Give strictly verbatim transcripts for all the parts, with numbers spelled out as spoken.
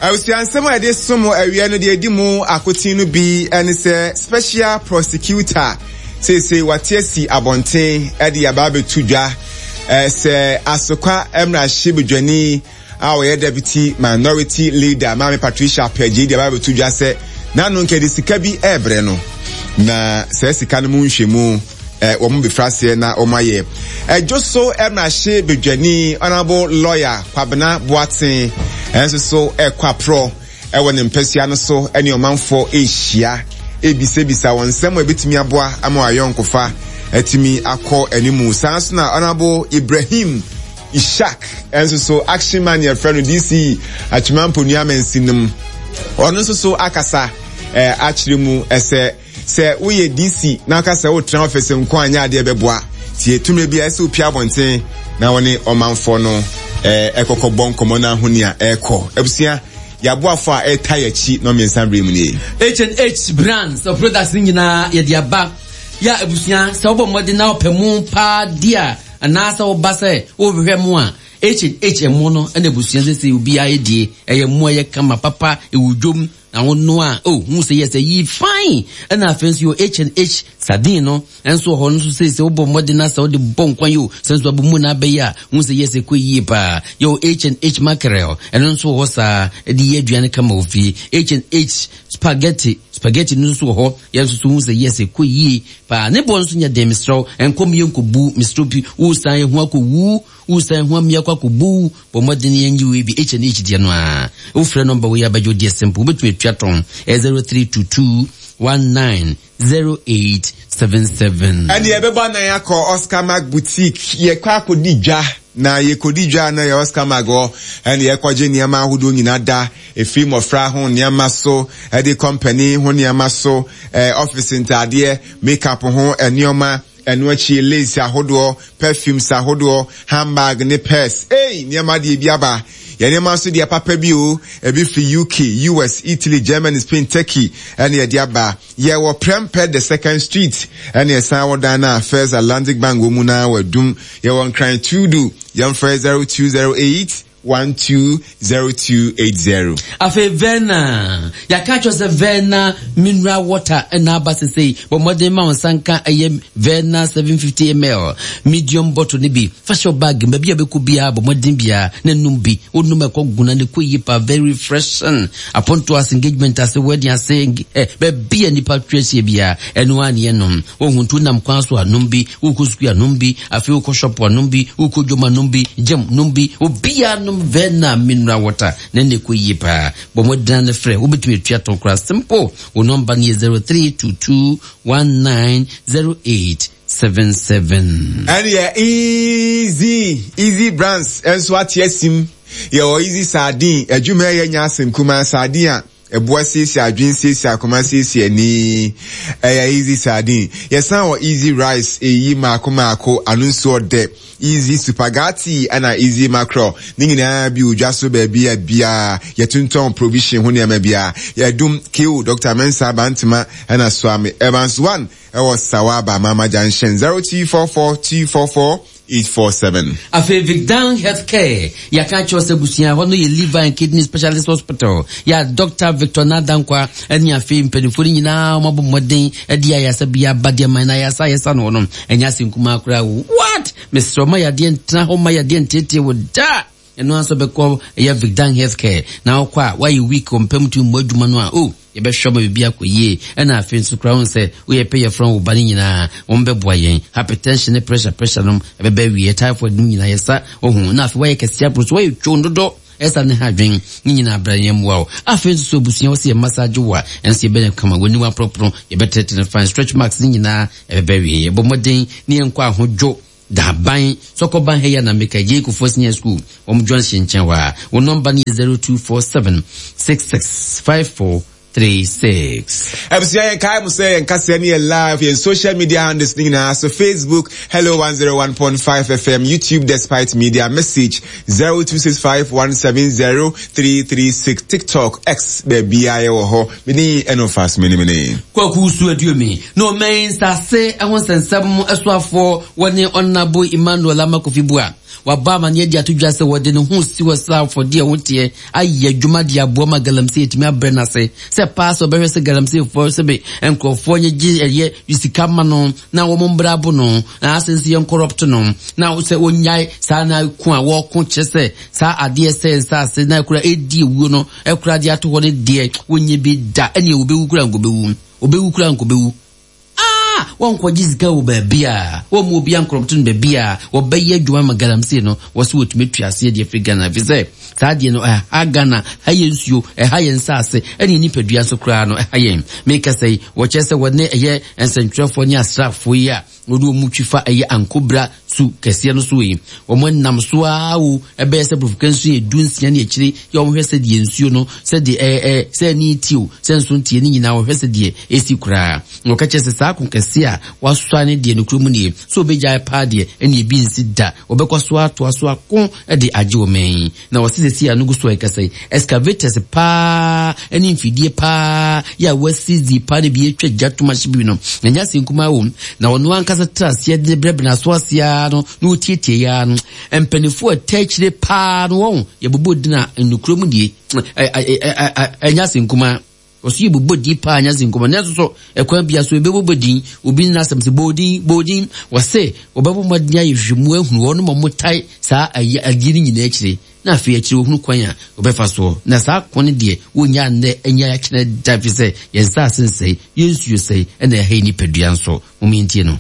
Abusua, nsɛm a yɛde som awia no deɛ, ɛdi mu akoten no bi ne sɛ special prosecutor seesei wate asi abɔnten de aba abɛto dwa sɛ Asokwa mmarahyɛbadwani a ɔyɛ Deputy Minority Leader, Maame Patricia Appiagyei, de aba abɛto dwa sɛ n'ano nka de sika bi ɛrebrɛ no, na saa sika no mu nhwɛmu wɔn bɛfiri aseɛ na wɔn ayɛ ɛdwo so. Mmarahyɛbadwani, Honourable Lawyer Kwabena Boateng, ɛnso so ɛkɔ aporɔ ɛwɔ ne mpɛsua no so ɛne ɔmanfoɔ ɛrehyia ebisabisa wɔn nsɛm a ebetumi aboa ama wɔayɔnkofa atumi akɔ anim. Saa nso na Honourable Ibrahim Ishak ɛnso so, Action Man yɛfrɛ no, D C Atwima Mponua Mansinim, ɔno nso so akasa ɛɛ akyerɛ mu ɛsɛ sɛ woyɛ D C na aka sɛ wotena office nko anyɛ adeɛ bɛboa tie tumi bi a ɛsɛ opia abɔnten na wɔne ɔmanfoɔ no ɛɛ ɛkɔkɔ bɔ nkɔmɔ no ahonia ɛɛkɔ. Abusua, yɛaboafo a ɛta yɛkyi na mmiɛnsa bere mu nie. H and H Brands of products nyinaa yɛde aba yɛ. Abusua, sɛ wobɔ mmɔden na wopɛ mu paa di a, anaasɛ woba sɛ wohwehwɛ mu a, H and H ɛmo no ɛna abusua sɛ sɛ obiara yɛ ɛyɛ mo ɛyɛ kama papa, ɛwɔ dwom na wono a, oh, hu sɛ yɛ sɛ yi fine. Ɛna afei nso yɛ H and H sardine no ɛnso wɔ hɔ no nso sɛ sɛ wobɔ mmɔden na sɛ wode bɔ nkwan yi o, sɛ nso abɔ mu na abɛyɛ a, hu sɛ yɛ sɛ kɔ yie paa. Yɛwɔ H and H mackerel, ɛno nso wɔ hɔ saa, ɛde yɛ aduane kama wɔ fie. H and H spaghetti spaghetti no nso wɔ hɔ, yɛn nso so hu sɛ yɛ sɛ kɔ yie paa. Ne bɔ nso nyɛ den, mesrɛw, nkɔm yɛ nkɔbu, mesrɛw bi wosan ho akɔwu, wosan ho amia kɔ akɔbu. Bɔ mmɔden yɛn yi wei bi, H and H deɛ no a wofrɛ number wei abɛgye deɛ simple, wobɛtumi atua tɔn, ɛyɛ zero three two two one nine zero eight seven seven. Ɛne yɛbɛbɔ anan akɔ Oscar Mark Boutique. Yɛkɔ akɔdi dwa na yɛkɔdi dwa na yɛ Oscar Mark hɔ, ɛne yɛkɔgye nneɛma ahodoɔ nyinaa da, ɛfiri mmɔfra ho nneɛma so ɛde company ho nneɛma so, ɛɛ office ntaadeɛ, makeup ho nneɛma, ɛno akyi lace ahodoɔ, perfumes ahodoɔ, handbag ne purse. Ei, nneɛma deɛ bi aba. Yɛn nneɛma nso deɛ papa bi o, ebi fi U K, U S, Italy, Germany, Spain, Turkey ɛne yɛde aba. Yɛwɔ Prempeh the Second Street, ɛne ɛsan wɔ dan na First Atlantic Bank wɔ mu na wɔadum. Yɛwɔ Nkran Tudu. Yɛmfrɛ zero two zero eight one two zero two eight zero. Afei Verna, yɛaka kyerɛ sɛ Verna mineral water ɛna aba sesei. Bɔ mmɔden ma wo nsa nka ɛyɛ Verna seven fifty milliliters medium bottle no bi, fa hyɛ bag baabi a bɛkɔ biara. Bɔ mmɔden biara na num bi, wonum ɛkɔ guna ne kɔ yie pa, very refreshing. Aponto ase, engagement ase, wedding ase, eh, baabi a nipa twa ahyia biara, ɛno a ne yɛnom. Wohu nti wonam kwan so anom bi, wokɔ sukuu anom bi, afei wokɔ shop anom bi, wokɔ dwom anom bi, gym nom bi, obiara nom Verna mineral water na ne kɔ yie paa. Bɔ mmɔden no frɛ, wobɛtumi atua tɔn koraa simple. Wo number no yɛ zero three two two one nine zero eight seven seven. Ɛne yɛ easy easy Brands ɛnso ate asim. Yɛwɔ Easy Sardine, adwuma ɛyɛ nya asɛm kumaa, sardine a ɛboa siesie adwene, siesie akoma, siesie ani, ɛyɛ Easy Sardine. Yɛsan wɔ Easy Rice, ɛyi maako maako, ano nso ɔdɛ, Easy Spaghetti ɛna Easy Mackerel ne nyinaa bi wɔ dwa so baabi a biara yɛtontɔn provision ho nneɛma biara. Yɛdum kiw Doctor Mensa Bantama ɛna Suame Evans one ɛwɔ Sawaba Mama Junction, zero two four four two four four eight four seven. Afei Vicdan Healthcare, yɛaka kyerɛ sɛ busua hɔ no yɛ liver and kidney specialist hospital yɛ Doctor Victor Nadankwa ɛne afei mpanimfoɔ no nyinaa wɔabɔ mmɔden de ayasa bi aba deɛ man na ayasa ayɛsa no hɔ no ɛnyɛ ase nkumaa koraa. What, mesrɛ, ma yadeɛ ntena hɔ, ma yadeɛ ntiatia wɔ da. Ɛno nso bɛkɔ ɛyɛ Vicdan Healthcare na wokɔ a woayɛ weak wɔ mpam tumi mmɔ adwuma no a, o yɛbɛhwɛ ma biribi akɔ yie. Ɛna afei nso koraa wo sɛ woyɛ pɛ yɛfrɛ wo ba no nyinaa, wɔn bɛboa yɛn. Hypertension ne pressure pressure nom ɛbɛbɛ wie, typhoid nom nyinaa yɛsa ɔho. Na afei woayɛ kɛseɛ aboro so, woayɛ two dodo, ɛsa ne ha adwen ne nyinaa bra yɛn mmoa wo. Afei nso so abusua wɔ sɛ yɛ massage wo a, ɛnso yɛbɛyɛ kama, w'anim aporɔporɔ, yɛbɛtɛtɛ fine, stretch marks ne nyinaa ɛbɛbɛ wie. Yɛbɔ mmɔden ne yɛnkɔ ahodwo daban sɔkɔban ha yi anamika gye Kofoɔ Senior School wɔn junction nkyɛn hɔ a. Wɔn number no yɛ zero two four seven six six five four three six. Abusua, yɛn kae mo sɛ yɛn kaseɛ no yɛ live yɛn social media handles ne nyinaa so: Facebook, Hello one oh one point five F M, YouTube, Despite Media, message zero two six five one seven zero three three six, TikTok, X, baabiara yɛwɔ hɔ. Mene ɛno fast mene mene. Kwaku so aduomi na ɔman nsase ho nsɛnsɛm ɛsoafoɔ wɔne Honourable Emmanuel Armah Kofi Buah. Wabɔ amanneɛ de ato dwa sɛ wɔde ne ho si hɔ sɛ afɔdeɛ ho teɛ ayɛ adwuma de aboa ma galamsey atumi abrɛ no ase, sɛ paa sɛ ɔbɛhwɛ sɛ galamseyfoɔ sɛbe nkurɔfoɔ nye gye ɛyɛ sika ma no na wɔn mbra abo no na asɛ nso yɛn corrupt no, na sɛ wɔnyae saa na ko a wɔko kyerɛ sɛ saa adeɛ sɛ nsaase na ɛkura ɛdi ewuo no ɛkura de ato hɔ no deɛ wɔnyɛ bi da, ɛne wɔbɛwu kura nkɔbɛwu, wɔbɛwu kura nkɔbɛwu. Ah, wɔnkɔgye sika wɔ baabi a wɔn mu obi ankorɔpto no baabi a wɔbɛyɛ adwuma ma galamsey no, wɔso wɔtumi tua aseɛ deɛ firi Ghana, ɛfiri sɛ saa deɛ no ɛha Ghana, ha yɛ nsuo, ɛha yɛn nsaase, ɛne nipadua nso koraa no ɛha yɛn. Meka sɛ yi wɔkyerɛ sɛ wɔne ɛyɛ nsɛntwerɛfoɔ ne asraafoɔ yi a wɔde wɔn mu twi fa ɛyɛ Ankobra su kɛseɛ no so yi, wɔn nam so ara wo ɛbɛyɛ sɛ borɔfo kansu yɛ du nsia ne akyire yɛ wɔn hwɛ sɛ deɛ nsuo no sɛ deɛ ɛɛ ɛɛ sɛ ɛni ti o sɛ nso ntie ne nyinaa wɔhwɛ sɛ deɛ esi koraa. Na wɔka kyerɛ sɛ saa ko kɛseɛ a wasɔa ne deɛ no kurom nie so obɛgyae paa deɛ ɛne ebi nsi da, wɔbɛkɔ so atoa so ako de agye wɔn yi. Na wɔsi sɛ si ano gu so a ɛkasa yi excavators paa ɛne mfidie paa yɛ a wɔasi zi paa ne bi atwa gya tom ahye bi no na nya se nkumaa wɔ mu, na ɔno ankasa tra aseɛ de brɛbrɛ n'aso ase ara no na wɔtietie ya no mpanimfoɔ a ɛtɛ akyire paa no wɔn yɛbobɔ din a nnukuro mu die ɛnya se nkumaa wɔso yɛbobɔ din paa nya se nkumaa, nanso so ɛkwan bia so yɛbɛbobɔ din obi nna asɛm sɛ bɔɔdin bɔɔdin wɔse wɔbɛbɔ mmɔden ayɛ hwehwɛmu ahunu wɔn ma wɔtae saa adeɛ no nyinaa akyire, na afei akyire wɔhunu kwan a wɔbɛfa soɔ, na saa ko no deɛ wɔnya nnɛ ɛnyɛ akyerɛ da, fi sɛ yɛn nsaase nsɛe, yɛn nsuo sɛe, ɛna ɛha yɛ nipadua nso. Wɔn no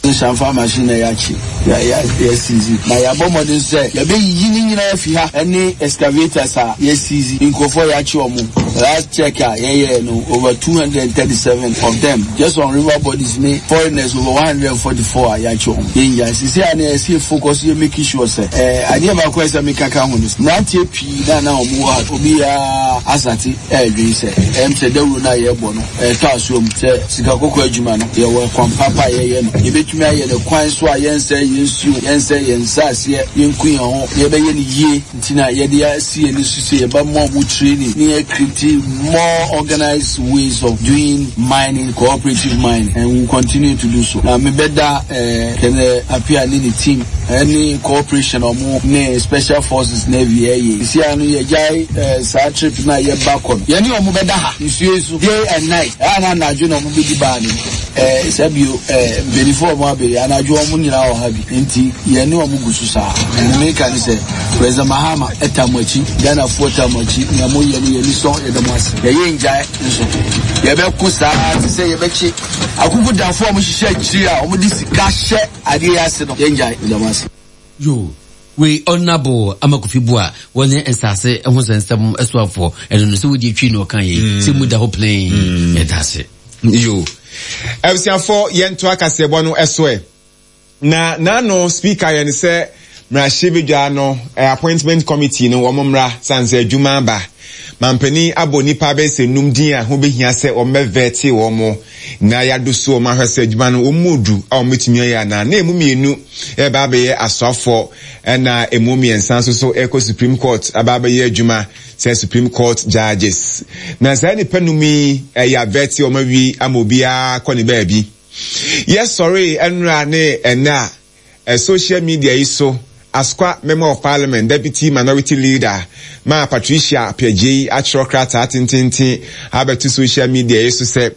nsamfa machine na yɛakye yɛasizi na yɛabɔ mmɔden sɛ yɛbɛyiyi ne nyinaa afi ha, ɛne excavators a yɛasizi nkurɔfoɔ yɛakye ɔmo. Last check a yɛyɛɛ no, over two hundred and thirty-seven of them just on river bodies, ne foreigners over one hundred and forty-four a yɛakye ɔmo. Yɛngya sisi a na yɛsi focus yɛ making sure sɛ ɛɛ adeɛ baako a ɛsɛ mekaka ho no, mmeranteɛ pii na na ɔmo wɔ ha, obiara asate ɛɛdwen sɛ ɛm sɛ dawuro no a yɛrebɔ no ɛtɔ asoɔ mu sɛ sika kɔkɔɔ adwuma no, yɛwɔ kwan papa a yɛyɛ no, yɛbɛtumi ayɛ no kwan so a yɛnsɛ yɛn nsuo, yɛnsɛ yɛn nsaaseɛ, yɛnku yɛn ho, yɛbɛyɛ no yie. Nti na yɛde asi yɛn so sɛ yɛba more mu training ne yɛ create more organized ways of doing mining, cooperative mining, and we will continue to do so. Na mebɛda ɛɛ Kenneth Appiah ne ne team ɛne cooperation ɔmo ne special forces navy ɛyɛ sisi ano yɛgyae ɛɛ saa trip na yɛba kɔ no, yɛne ɔmo bɛda ha nsuo yi so day and night. Ɛyà na anadwo na ɔmo bɛdi baa ne ɛɛ sɛbio ɛɛ mpanyinfoɔ ɔmo abɛyi anadwo, ɔmo nyinaa wɔ ha bi, nti yɛne ɔmo gu so saa. Ɛna meka ne sɛ President Mahama ɛta mo akyi, Ghanafoɔ ta mo akyi, nea mo yɛ no yɛni sɔ, yɛda mo ase. Yɛyɛ ngyae nso yɛbɛko saa te sɛ yɛbɛkye akukudafoɔ a wɔhyehyɛ akyiri a wɔde sika hyɛ adeɛ yi ase no, yɛngyae. Yɛda mo ase. Yo, wei Honorable Armah-Kofi Buah, wɔne nsase ho nsɛnsɛm soafoɔ ɛno no sɛ wodi atwi na ɔka yi sɛ mu da hɔ plain. Yɛda ase. Yo, abusuafoɔ, yɛnto akaseɛbɔ no ɛso ɛ na n'ano speaker yɛn sɛ mmarahyɛbadwa no appointment committee no wɔn mmra san sɛ adwuma aba. Mampanin abɔ nipa bɛyɛ sɛ num din a ho behia sɛ wɔn bɛvet wɔn na yɛado so wɔn ahwɛ sɛ adwuma no wɔn mu odu a wɔn bɛtumi ayɛ anaa, na emu mmienu ɛba abɛyɛ asoafoɔ, ɛna emu mmiɛnsa nso so ɛkɔ Supreme Court aba abɛyɛ adwuma sɛ Supreme Court judges. Na saa nipa num yi ɛyɛ avet wɔn awie ama obiara kɔ ne baabi. Yɛsɔre ɛnura ne ɛnɛ a social media yi so, Asokwa Member of Parliament, Deputy Minority Leader maa Patricia Appiagyei atwerɛ krataa tententen abɛto social media yi so sɛ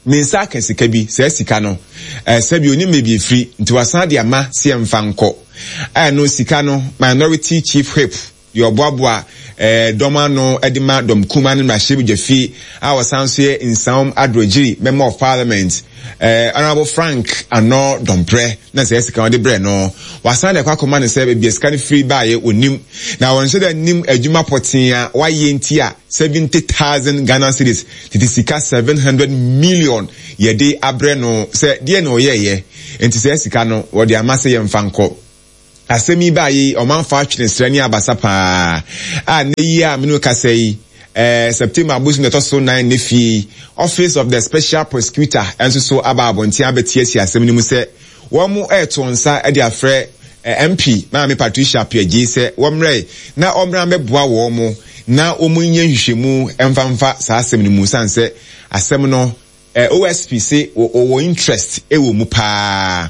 ne nsa aka sika bi, saa sika no sɛbi onim baabi efiri, nti wasan de ama sɛ yɛmfa nkɔ. Ɛno sika no, Minority Chief Whip deɛ ɔboaboa ɛɛ dɔm ano de ma dɔm kuma no mmarahyɛbadwa fie a wɔsan so yɛ Nsawam Adoagyiri Member of Parliament, ɛɛ Honourable Frank Annor Dompreh, na sɛ sika wɔde brɛ no, wasan de akɔ akɔma no sɛ baabi a sika no firi baayɛ onim na wɔn nhyɛ dɛ nim adwuma pɔtee a wayɛ, nti a seventy thousand Ghana cedis, tete sika seven hundred million, yɛde abrɛ no sɛ deɛ na ɔyɛɛyɛ, nti sɛ sika no wɔde ama sɛ yɛmfa nkɔ. Asɛm yi baa yi, ɔmanfo atwene srɛ ne abasa paa a ne yi a mene kasa yi, eh, September abosom na ɛtɔ so nan ne fie, Office of the Special Prosecutor nso so aba abɔnten abɛte asɛm no mu sɛ wɔn ɛreto nsa de afrɛ eh, M P Maame Patricia Appiagyei sɛ wɔmmerɛ na ɔmmra mmɛboa wɔn mo na wɔn nyɛ nhwehwɛmu mfamfa saa asɛm no mu, san sɛ asɛm no eh, O S P se wɔwɔ interest ɛwɔ mu paa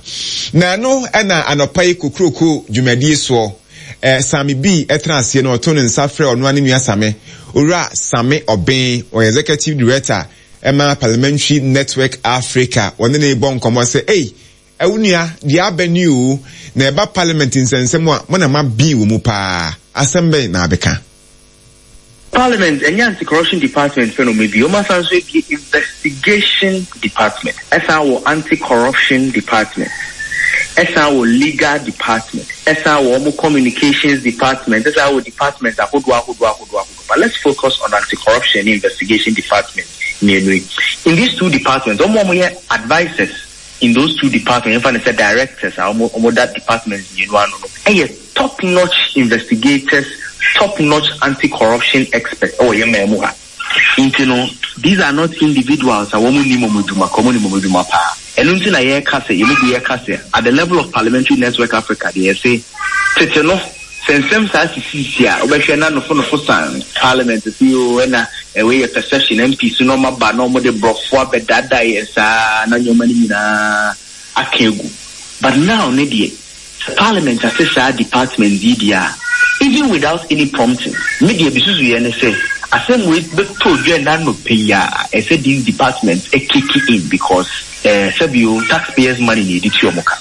na no ɛna anɔpa yi kokuroko dwumadie soɔ eh, Sami B ɛtena aseɛ no, ɔto ne nsa frɛ ɔno ane nua Same, Owura Same Ɔben, ɔyɛ executive director ɛma Parliamentary Network Africa. Wɔne ne bɔ nkɔmmɔ sɛ, ei, ɛwo nua deɛ aba ni o, na ɛba parliament nsɛnsɛm a mo na ma bii wɔ mu paa, asɛm bɛn na abɛka? Parliament ɛnyɛ anti-corruption department fɛ no ɔmo bi, ɔmo asan so ebi investigation department, ɛsan wɔ anti-corruption department, ɛsan wɔ legal department, ɛsan wɔ ɔmo communications department, ɛsan wɔ department ahodoɔ ahodoɔ ahodoɔ ahodoɔ. But let's focus on anti-corruption and investigation department mmienu yi. In these two departments, ɔmo ɔmo yɛ advisers in those two departments, yɛnfa ne sɛ directors a ɔmo ɔmo da departments mmienu ano no, ɛyɛ top notch investigators, top notch anti-corruption experts ɛwɔ yɛn mmaa mu ha. Nti no, these are not individuals a wɔn nim wɔn adwuma ka, wɔn nim wɔn adwuma paa. Ɛno nti na yɛreka sɛ, yɛn mu bi yɛreka sɛ, at the level of Parliamentary Network Africa deɛ, yɛsɛ tete no sɛ nsɛm saa sisisi a, wobɛhwɛ na nofonofo san parliament si o, ɛna ɛwei yɛ perception M P so na ɔma ba na ɔmo de borɔfo abɛdaadaa yɛn saa na nneɛma no nyinaa aka egu. But now ne deɛ, sɛ parliament ase saa department yi deɛ a, even without any prompting, me deɛ bi susu yɛ ne sɛ asɛm wei bɛtɔ dwa n'anɔpɛ yi a, ɛsɛ these departments kick in because ɛɛ sɛbio taxpayers' money na yɛde tua ɔmo ka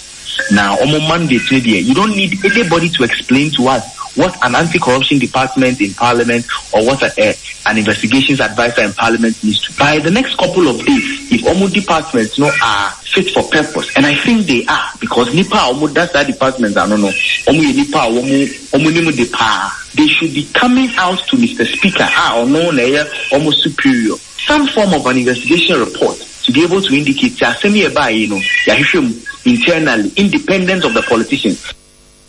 na ɔmo mandate no deɛ, you don't need anybody to explain to us what an anti-corruption department in parliament or what a, a, an investigations advisor in parliament needs to. By the next couple of days, if ɔmo departments no are fit for purpose, and I think they are, because nipa a ɔmo da saa departments ano no, ɔmo yɛ nipa a ɔmo ɔmo nim de paa. They should be coming out to Mister Speaker, a ɔno na ɛyɛ ɔmo superior, some form of an investigation report to be able to indicate sɛ asɛm yi ɛbaa yi no, yɛahwehwɛ mu internally, independent of the politicians.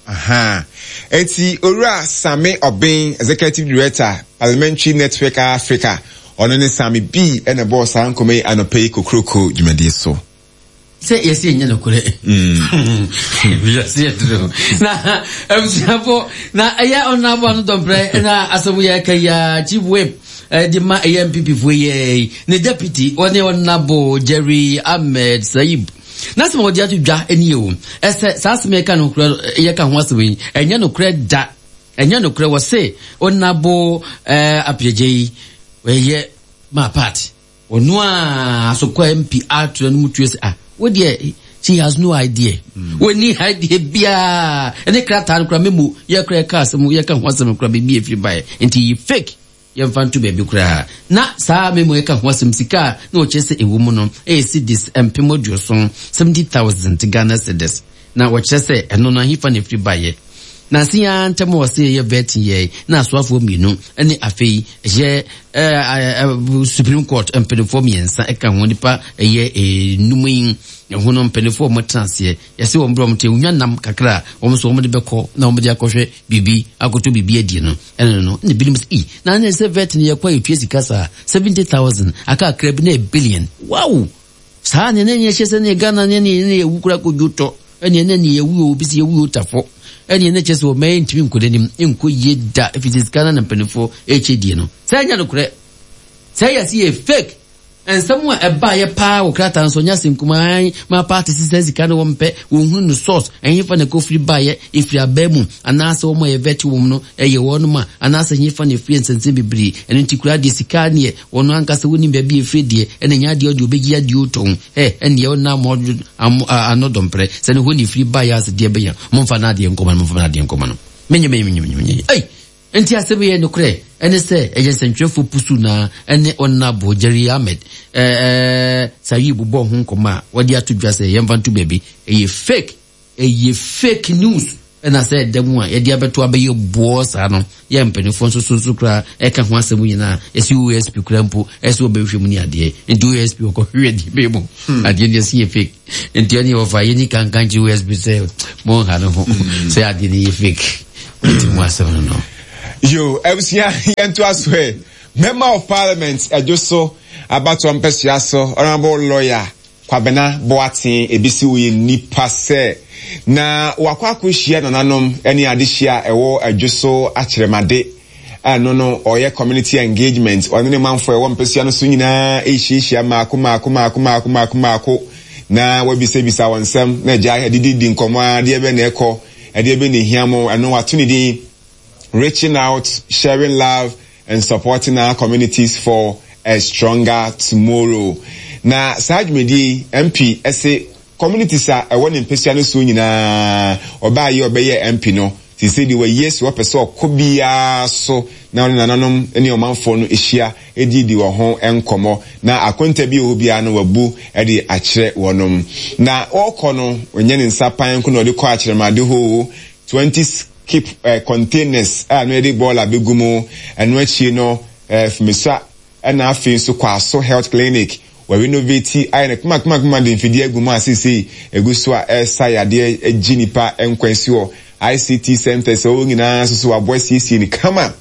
Aha. Eti Owura Same Ɔben, executive director, Parliamentary Network Africa, ɔno ne Sami B ɛna bɔɔ saa nkɔmɔ yi anɔpɛ yi kokuroko dwumadie so. Sɛ yɛsɛ ɛnyɛ nokorɛ wiase yɛduro na abusuafo na ɛyɛ ɔnabo ano dɔmprɛ na asɛm yɛ ka yi a, chief whip de ma ɛyɛ N P P foɔ yɛ ne deputy, ɔne Ɔnabo Jerry Ahmed Saib na asɛm a wɔde ato dwa ne yɛ o, ɛsɛ saa asɛm yɛka no yɛka ho asɛm yi, ɛnyɛ nokorɛ da, ɛnyɛ nokorɛ. Wɔ se Ɔnabo Appiagyei yi ɛyɛ ma party ɔno a asokɔ M P ato no mu tuo sɛ, ah, wo deɛ, she has no idea mm. Wɔni idea biara ɛne krataa no kora memo yɛkora yɛka asɛm, yɛka ho asɛm kora baabi ɛfiri baeɛ, nti yi fake, yɛmfa nto baabi koraa. Na saa memo yɛka ho asɛm, sika a na wɔkyerɛ sɛ ɛwɔ mu no ɛyɛ cedis mpem aduɔson, seventy thousand Ghana cedis, na wɔkyerɛ sɛ ɛno no ahefa na ɛfiri baeɛ. Na ase ya ntɛm wɔ se yɛyɛ vetting yɛ na asoafoɔ mmienu ne afei ɛyɛ ɛɛ Supreme Court mpanimfoɔ mmiɛnsa ɛka ho, nipa ɛyɛ enum yi ɛho no, mpanimfoɔ a wɔtena aseɛ yɛsɛ wɔn berɛ wɔn te onwa nam kakra a wɔn nso wɔn de bɛkɔ na wɔn de akɔhwɛ biribi akɔtɔ biribi adi no, ɛno no na ebinom sɛ, ii, na ne sɛ vetting yɛ kɔ a yɛtua sika saa seventy thousand, aka akra bi na yɛ billion. Wow, saa ne ne yɛ hyɛ sɛ ne Ghana ne ne ne yɛwu kura kodwo tɔ ɛne ne ne yɛwu yɛ obi sɛ yɛwu yɛ otafo ɛne ne kyɛ sɛ ɔmɛ ntumi nkɔ n'anim nkɔ yie da, ɛfiri sika na ne mpanimfoɔ ɛkyɛ die no sɛ ɛnyɛ nokorɛ sɛ yɛ sɛ yɛ fake. Nsɛm a ɛbaayɛ paa wɔ krataa nso nyɛ asɛm kumaa ma party sisɛ sika no wɔmpɛ wɔnhunu no source, ɛhefa na ɛkɔfiri baayɛ, ɛfiri abaa mu anaasɛ wɔn a yɛvɛte wɔm no ɛyɛ wɔnom a, anaasɛ ɛhefa na ɛfiri, nsɛnsɛm bebree. Ɛno nti koraa deɛ, sika neɛ wɔn ankasa wɔnim baabi ɛfiri deɛ, ɛna nyɛ adeɛ ɔde ɔbɛgye adeɛ ɔtɔn ɛ ɛneɛ ɔnam ano dɔmprɛ sɛ ne hɔ ne ɛfiri baayɛ ase deɛ bɛyɛ, momfa no adeɛ nkɔma no, momfa no adeɛ nkɔma no, menye menye menye menye ei. Nti asɛm yɛ nokorɛ ɛne sɛ ɛyɛ nsɛntwerɛfoɔ pusu na ɛne Ɔnabo Jerry Ahmed ɛɛ Sayi bobɔ ho nkɔmɔ a wɔde ato dwa sɛ yɛmfa nto baabi, ɛyɛ fake, ɛyɛ fake news. Ɛna sɛ ɛda mu a yɛde abɛto abɛyɛ boɔ saa no, yɛ mpanimfoɔ nso so nso koraa ɛka ho asɛm nyinaa, ɛsi O S P koraa mpo ɛsɛ wɔbɛhwɛ mu ne adeɛ. Nti O S P wɔkɔhwehwɛ deɛ bɛyɛ mu adeɛ no yɛsi yɛ fake, nti ɛne wɔfa yɛni kankan kyerɛ O S P sɛ monha no ho sɛ adeɛ no yɛ fake, nti mu asɛm no no Yo, abusua, yɛnto aso ɛ. Member of Parliament ɛdwo so abatoɔ mpɛsua so, Honourable Lawyer Kwabena Boateng, ebisi woyɛ nipa sɛ na wakɔ akɔhyia nananom ne adehyia a ɛwɔ Adwo so akyerɛmade Ɛno no ɔyɛ community engagement, ɔne ne manfoɔ ɛwɔ mpɛsua no so nyinaa ɛhyiahyia maako maako maako maako maako maako na wabisabisa wɔn nsɛm na agya adididi nkɔmmɔ a adeɛ bɛ na ɛkɔ, ɛdeɛ bɛ na ehia mo. Ɛno wato ne din "Reaching Out, Sharing Love and Supporting Our Communities for a Stronger Tomorrow". Na saa dwumadie yi, M P ɛsɛ communities a ɛwɔ ne mpɛsua no so nyinaa, ɔbaa yi ɔbɛyɛ M P no sisi de wɔyie so, wɔpɛ sɛ ɔkɔ biara so na ɔne nananom ne ɔmanfoɔ no ahyia edidi wɔn ho nkɔmɔ, na akonta bi wɔ hɔ biara no wabu de akyerɛ wɔnom. Na ɔrekɔ no, ɔnyɛ ne nsa pan ko na ɔde kɔ Akyerɛmade hɔ. Twenty skip uh, containers a no yɛde bɔɔla bɛgu mu. Ɛno akyi no, uh, Fumisa, ɛna afei nso Kwaso Health Clinic, wɔ renovate ayɛ no kumakuma de mfidie agu mu a seesei egu so a ɛresa yadeɛ agyi nipa nkwan si hɔ. I C T centers ɛwɔ nyinaa nso so waboa siesie ne kama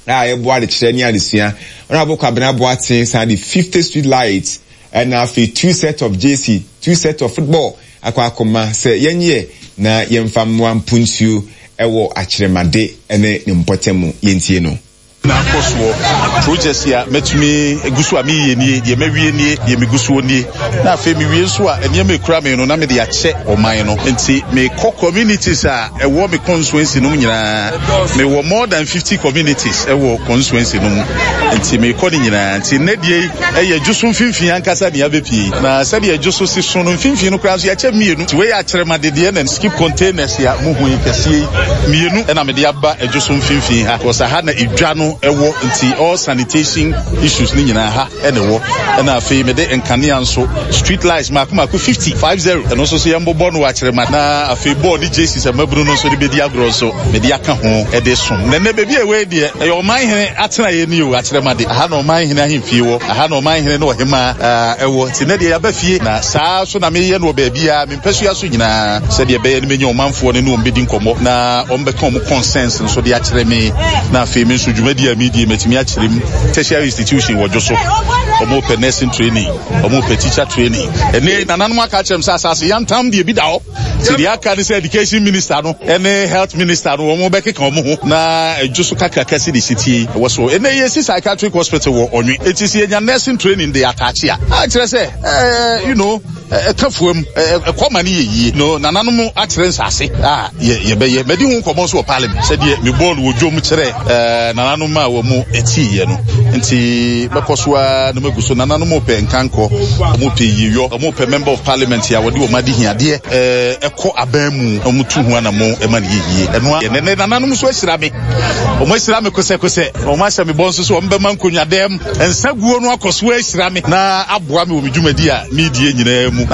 a ɛboa adekyerɛ ne adesua. Ɔno abɔ Kwabena Boaten san de fifty street lights ɛna afei two set of jersey, two set of football akɔ akɔma sɛ yɛnyɛ na yɛmfa mmoa mpuntuo ɛwɔ Akyerɛmade ɛne ne mpɔtam. Yɛntie no. Na akɔ soɔ, projects a mɛtumi egu so a meyɛ nie, deɛ mɛwie nie, deɛ megu soɔ nie, na afei mewie nso a, nneɛma ekura me no na mede akyɛ ɔman no. Nti mekɔ communities a ɛwɔ me constituency no mu nyinaa. Mewɔ more than fifty communities ɛwɔ constituency no mu, nti mekɔ ne nyinaa. Nti nnɛ deɛ yi ɛyɛ Dwoso mfimfini ankasa nea abɛpie, na sɛdeɛ Dwoso si so no, mfimfini no koraa nso yɛakyɛ mmienu. Nti wei yɛ Akyerɛmadedeɛ na skip containers a muhu yi kɛseɛ yi mmienu ɛna mede aba Adwoso mfimfini ha, kɔsa ha na edwa no ɛwɔ, nti all sanitation issues ne nyinaa ha ɛna ɛwɔ. Ɛna afei mede nkanea nso, street lights mako mako fifty, five zero, ɛno nso so yɛn bobɔ no wɔ Akyerɛma. Na afei bɔɔl ne jerseys a mmabunu no nso de bɛdi agorɔ nso mede aka ho ɛde som. Na nnɛ baabi a ɛwɔ yi deɛ, ɛyɛ ɔman hene atena yɛ ni o. Akyerɛma de aha na ɔman hene ahemfie wɔ, aha na ɔman hene ne ɔhemaa ɛwɔ, nti nnɛ deɛ yɛaba fie. Na saa so na meyɛ no wɔ baabi a mempɛsua so nyinaa, sɛdeɛ ɛbɛyɛ no menya ɔmanfoɔ no ne wɔn bɛdi nkɔmmɔ na wɔn bɛka wɔn concerns nso de akyerɛ me, na afei me nso dwumadi a medie matumi akyerɛ mu. Tertiary institution wɔ Dwo so, ɔmo pɛ nursing training, ɔmo pɛ teacher training. Ɛne nananom aka akyerɛ m sɛ asase yantam deɛ bi da hɔ, nti deɛ aka ne sɛ education minister no ɛne health minister no wɔn bɛkeka wɔn ho na ɛdwo so kakraka si de si tie wɔ so. Ɛnɛ yɛsi psychiatric hospital wɔ Ɔnwe, eti sɛ yɛnya nursing training de ataakye a, akyerɛ sɛ ɛɛ you know ɛka fuam ɛkɔ ma ne yɛ yie no. Nananom akyerɛ nsase a yɛbɛyɛ mɛdi ho nkɔmmɔ nso wɔ parliament, sɛdeɛ mebɔɔ no wɔ dwom kyerɛ nananom a wɔ mu ɛtiiɛ no. Nti mɛkɔ so a na magu so. Nananom pɛ nkankɔ, ɔmo pɛ yiyɔ, ɔmo pɛ member of parliament a wɔde wɔn ade hiadeɛ ɛkɔ aban mu, ɔmo tu ho anamo ɛma ne yɛ yie. Ɛno a nananom nso ahyira me, ɔmo ahyira me kosɛkosɛ, ɔmo ahyɛ me bɔ nso so ɔmo bɛma nkonnwa dɛm nsa guo no akɔ so ahyira me na aboa me wɔ me dwumadi a meedie nyinaa mu.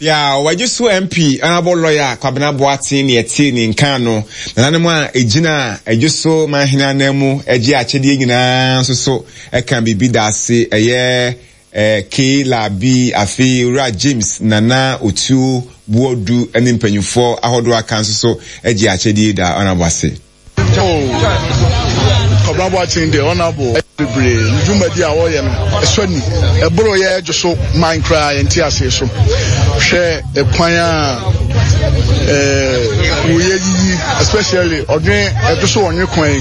Ya wɔagye so M P, Honourable Lawyer Kwabena Boateng ne ɛte ne nka no. Nananom a ɛgyina Adwo so manhene anan mu agye akyɛdeɛ nyinaa nso so ɛka biribi da ase, ɛyɛ eh, K Labi, afei Owura James Nana Otuo Buodu ne mpanyinfoɔ ahodoɔ aka nso so agye akyɛdeɛ da honourable ase. Kwabena Boateng deɛ, honourable bebree ne dwumadi a wɔyɛ no ɛsɔ ni, ɛboro yɛ dwo so man koraa yɛnte aseɛ so. Hwɛ ɛkwan a ɛɛ wɔyɛ yiyi, especially ɔdwen ɛdwo so ɔnwe kwan yi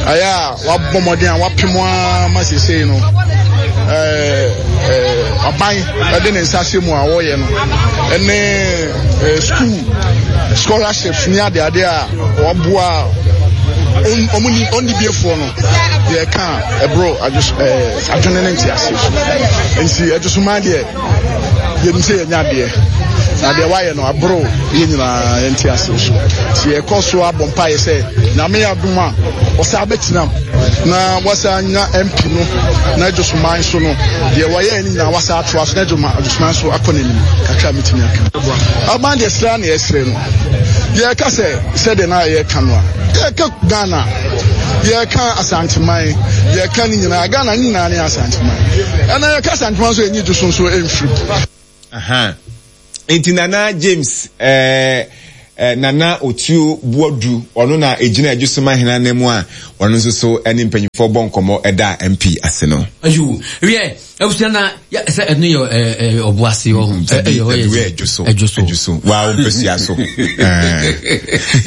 ayɛ a wabɔ mmɔden a wapem a ma seesei no ɛɛ ɛɛ aban ɛde ne nsa ahyɛ mu a wɔyɛ no, ɛne ɛɛ school scholarships ne adeade a waboa ɔmo ni ɔni biefoɔ no deɛ ɛka ɛboro ɛɛ adwene ne ntease so. Nti Adwosoman deɛ, yɛnim sɛ yɛnya adeɛ na deɛ wayɛ no aboro yɛn nyinaa yɛnte ase so. Nti yɛkɔ so abɔ mpaeɛ sɛ Nyame yɛ adom a ɔsa bɛtena mu na wasa nya M P no na Adwosoman so no deɛ wɔyɛ no nyinaa wasa atoa so na Adwosoman so akɔ n'anim kakra. Metumi aka aban deɛ sra na yɛsrɛ no, yɛka sɛ sɛdeɛ na yɛka no a, yɛka Ghana, yɛka Asanteman, yɛka ne nyinaa, Ghana ne nyinaa ne Asanteman, ɛna yɛka Asanteman nso yɛnyi dwo so nso ɛmfiri. Aha. Nti Nana James ɛɛ Nana Otuo Boadu ɔno na egyina Adwosoma hena ne mu a ɔno nso so ne mpanyinfoɔ bɔ nkɔmmɔ ɛda M P ase no. Ayo wiɛ abusua na sɛ ɛno yɛ ɔboase wɔ ho ɛyɛ hɔ yɛ Adwoso Adwoso wa wo mpɛsua so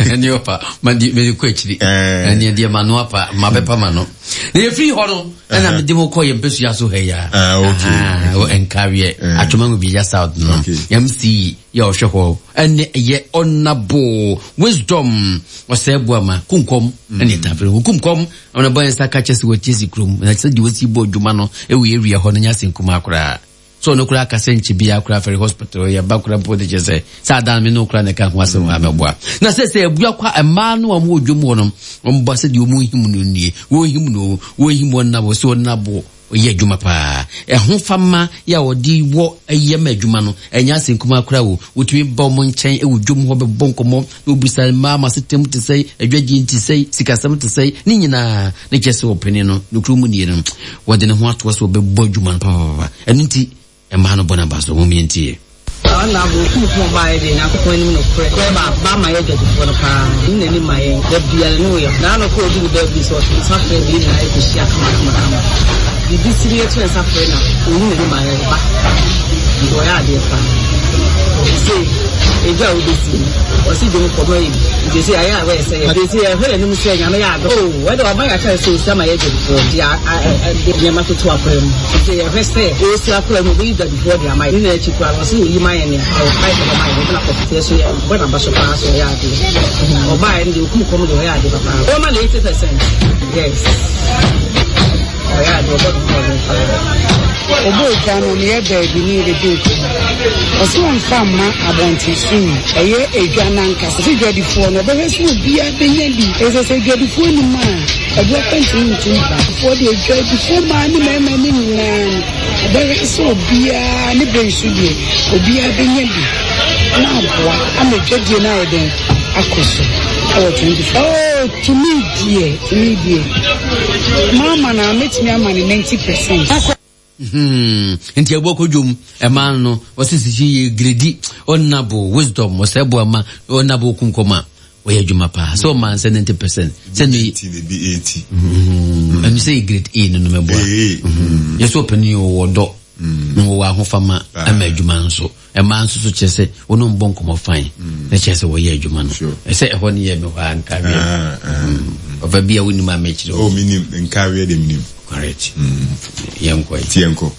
ɛne ɔpa ma di me kɔ akyiri ɛne deɛ ma no apa ma bɛpa ma no na yɛfiri hɔ no ɛna mede mo kɔ yɛ mpɛsua so ha ya ah okay ɛnkareɛ atwoma ngo bi ya south no M C yɛ ɔhwɛ hɔ ɛne yɛ Honorable Wisdom ɔsɛ boama kunkom ɛne tafere kunkom ɔna bɔ nsa ka kyɛ sɛ wɔtie si kurom na sɛ deɛ wɔsi bɔ adwuma no ɛwɔ area hɔ no nya sɛ nkuma koraa so ɔno koraa kasa nkyɛ biara koraa fɛre hospital yɛ ba koraa mpo de kyɛ sɛ sɛ adan me no koraa na ɛka ho asɛm a mɛboa na sɛ sɛ abua kwa mmaa no a wɔwɔ dwom hɔ no wɔmbɔ sɛ deɛ wɔn him no nie wɔn him no wɔn him wɔn nabo sɛ wɔn nabo ɔyɛ adwuma paa ɛho fama yɛ a wɔde wɔ ɛyɛ ma adwuma no ɛnyɛ asɛ nkuma koraa wo wotumi ba wɔn nkyɛn ɛwɔ dwom hɔ bɛbɔ nkɔmmɔ na obisa mmaa ma setem te sɛ adwagye te sɛ sikasɛm te sɛ ne nyinaa ne kyɛ sɛ ɔpene no nokuro mu nie no wɔde ne ho atoɔ sɛ wɔbɛbɔ adwuma no papaapa ɛno nti mmaa no bɔ n'aba so wɔn yɛntie. Ɔna bo kunkun ba yɛ de Nyankopɔn anim no korɛ korɛ ba ba ma yɛ dwadifoɔ no paa ne n'anim ma yɛn da biara ne woyɛ na ano kɔ odi ne baabi sɛ ɔto nsa frɛ bi nyinaa ɛkɔhyia kama kama kama biribi si ne yɛto nsa frɛ na ɔyi n'anim ma yɛn ba nti ɔyɛ adeɛ paa sɛ ɛdwa a wobɛsi ɔsi dwom kɔmɔ yi nti sɛ ayɛ a wɔyɛ sɛ yɛ sɛ yɛhwɛ n'anim sɛ Nyame yɛ adɔ o wɔde ɔba yɛ akyerɛ sɛ ɔsi ama yɛ dwadifoɔ de nneɛma toto akora mu nti yɛhwɛ sɛ ɔsi akora mu ɔbɛyi dwadifoɔ de ama yɛ ne na akyi koraa no ɔsi ɔyi ma yɛ nea ɛwɔ pipe no ma yɛ ɔbɛna kɔfɛ so yɛ bɔ n'aba so paa so ɔyɛ adeɛ ɔbaa yɛ no deɛ okum kɔm deɛ ɔyɛ adeɛ papa ɔma no eighty percent yes ɔyɛ adeɛ ɔbɔ ne ho ɔden paa. Obo edwa no ne yɛ baabi ne yɛbɛdi nkɔmmɔ ɔsɛ ɔmfa mma abɔnten so yi ɛyɛ edwa nankasa sɛ dwadifoɔ no ɔbɛhwɛ sɛ obiara bɛnya bi ɛsɛ sɛ dwadifoɔ nim a ɛboa pɛntene ntum ba foɔ deɛ dwadifoɔ maa ne mmarima ne nyinaa no ɔbɛhwɛ sɛ obiara ne bɛn so deɛ obiara bɛnya bi na aboa ama dwadie no ayɛ dɛn akɔ so ɛwɔ twenty four oh tumi deɛ tumi deɛ maama na mɛtumi ama ne ninety percent. Hmm nti ebo kodwom e man no osisi ye gredi Honorable Wisdom osebo ama Honorable kunkoma oye adwuma pa so man se ninety percent se no eighty mm enu se grade A no no mebo a yeso opani wo do no wo ahofama ama adwuma nso e man nso so kyerɛ sɛ wo no mbɔ nkɔmɔ fine na kyerɛ sɛ wo yɛ adwuma no ɛsɛ ɛhɔ ne yɛ me hɔ anka wi ɔfa bia wo nim a mekyerɛ o minim nka wi de minim correct yɛnkɔ yɛnkɔ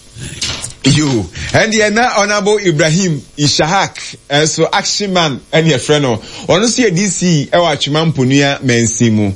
yo and the na Honorable Ibrahim Ishahak so action man and your friend no ono so D C e wa atwema mponua mansin mu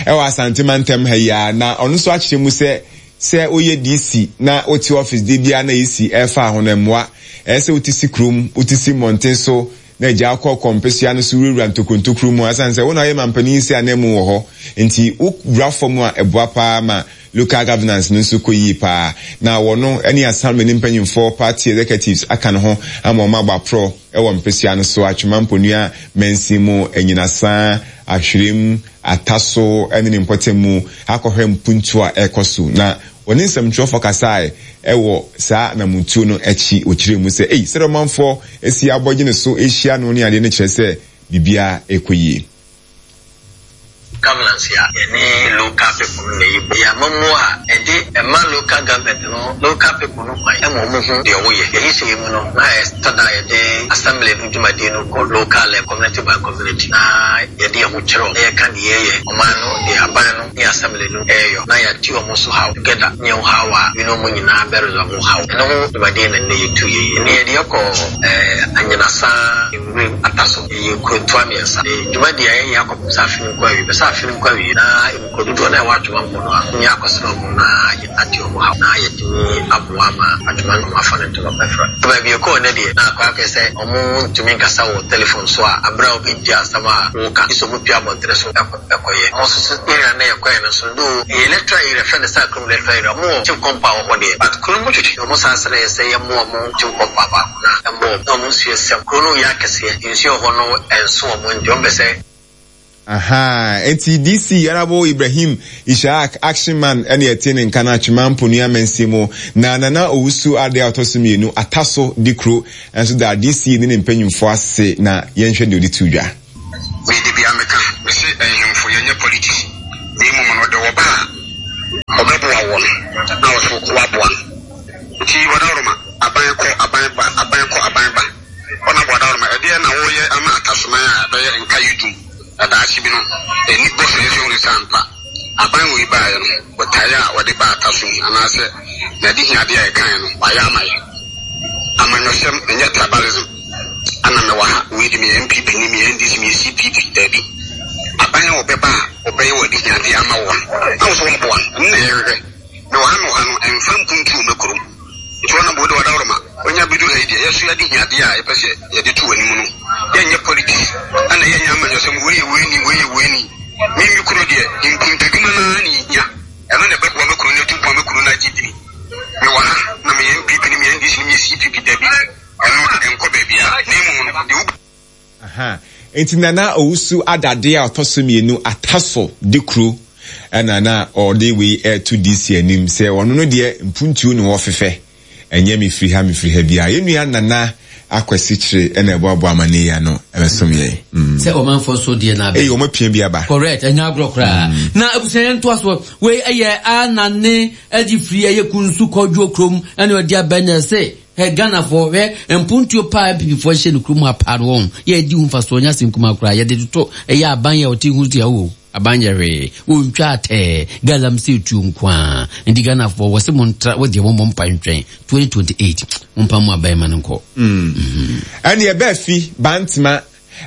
e wa Asante mantem ha ya na ono so akyerɛ mu sɛ sɛ oyɛ D C na oti office de bia na E C e fa ho na mmoa e sɛ otisi krom otisi monten so na gya akɔ kɔmpesua no so wura ntokontokru mu asan sɛ wo na oyɛ mampani sɛ anemu wɔ hɔ nti wo wura fam a eboa pa ma local governance no nso kɔ yie paa na wɔno ne assembly ne mpanyimfoɔ party executives aka ne ho ama ɔma abɔ aprɔ ɛwɔ mpesua no so atwema mponua mansin mu anyinasa ahwerem ataso ne ne mpɔtam mu akɔhwɛ mpuntu a ɛkɔ so na wɔne nsɛmtwerɛfoɔ kasae ɛwɔ saa namutuo no akyi ɔkyerɛ mu sɛ ei sɛdeɛ ɔmanfoɔ asi abɔgye ne so ahyia no ne adeɛ no kyerɛ sɛ biribiara ɛkɔ yie. Governance ya any local people na yi ya mamu a e de ma local government no local people no kwan e mo mo hu de wo ye ye hye mu no na e tada ye de assembly no dwumadi no ko local level community by community na ye de ho kero na ye ka de ye ye o man no de aban no ni assembly no e yo na ya ti o mo so how together ni ho how a you no mo nyina be resolve how no ho dwumadi na ne ye tu ye ni ye de ko eh anyina sa nwurem ataso ye krontoa miensa dwumadi ye ye akopsa afin kwa wi besa afin kwa wi na nkodudo na wa atwuma mpo no ni akosoro mu na ati omo ha na yetimi aboa ma atwuma no afa ne ntoma pefra ba bi ko ne de na akwa akese omo ntumi nkasa wo telephone so a abra obi di asama wo ka iso mu pia bontre so ekoye mo so so area na yekoye no so do electoral area fa ne sa krum electoral area mo chief compound ho de but krum mo twetwe omo sanse na yese ye mo mo chief compound ba na mo na mo nsuo sem kro no ya kese nsuo ho no enso omo ndi ombese. Aha, enti D C Honorable Ibrahim Ishaq action man ene yete ne nka na atwema mponua mansin mu na Nana Owusu ade ɔtɔ so mmienu ataso di kro enso da D C ne ne mpanyimfo ase na yɛnhwɛ de odi tudwa. Me de bia meka, mese nhemfo yɛnyɛ politics. Na mmom no ɔde ɔba a ɔbɛboa wɔ no na ɔso waboa no. Nti Wadaworoma, aban kɔ aban ba, aban kɔ aban ba. Ɔna Wadaworoma, ɛdeɛ na woyɛ ama Atasoman a ɛbɛyɛ nka yi dum na daakye bi no ani bɔ so yɛsɛ hunu sɛ ampa aban wei baeɛ no botaeɛ a wɔde baa Atasom anaasɛ n'adehiadeɛ a ɛkaeɛ no wayɛ ama yɛ. Amanyɔsɛm ɛnyɛ tribalism. Ana mewɔ ha, wei de meyɛ N P P ni, meyɛ N D C, meyɛ C P P, daabi. Aban a wɔbɛba a wɔbɛyɛ wɔ adehiadeɛ ama wɔn na wo so wɔaboa no, ɛno na yɛhwehwɛ. Mewɔ ha mewɔ ha no, ɛmfa mpuntuo mma kurom. Nti wɔn abɔ de Wadaworoma, wɔnya bɛduru ha yi deɛ, yɛso yɛadehiadeɛ a yɛpɛ sɛ yɛde to w'anim no, yɛnyɛ politics, ɛna yɛnyɛ amanyɔsɛm, wei yɛ wei ni, wei yɛ wei ni. Me me kuro deɛ, mpuntudwuma no ara na ɛhia. Ɛno na ɛbɛboa me kuro no atu mpɔn, me kuro no agye dini. Mewɔ ha na meyɛ N P P ni, meyɛ N D C ni, meyɛ C P P, daabi. Ɛno ɛnkɔ baabiara, na mmom no, deɛ wo. Aha. Nti Nana Owusu Adade a ɔtɔ so mmienu Ataso de kuro ɛna na ɔde wei ɛto D C anim sɛ ɔno no deɛ mpuntuo ne wɔfefɛ ɛnyɛ mefiri ha mefiri ha biara. Yɛn nua Nana Akwasi Kyere ɛna ɛboaboa amane yi ano ɛbɛsom yɛn. Mm. Sɛ ɔmanfoɔ so deɛ na abɛ. Eyi wɔn apia bi aba. Correct, ɛnyɛ agorɔ koraa. Mm. Na abusua yɛn ntoa so wei ɛyɛ Anane ɛde firi ɛyɛ Kunsu Kɔdwo kurom ɛna ɔde abɛ na ɛsɛ Hey, Ghana for hwɛ mpuntuo paa N P P foɔ hyɛ no kurom ha paa no wɔn yɛ di ho mfasoɔ nyɛ asɛm kumaa koraa yɛde toto ɛyɛ aban yɛ ɔte ho tia o aban yɛ hwee wɔntwa atɛɛ galamsey tuo nko a nti Ghana foɔ wɔ se mo ntra wɔ deɛ wɔn bɔ mpa ntwɛn twenty twenty-eight mo mpa mo aban ma no nkɔ. Ɛne ɛbɛɛ fi Bantama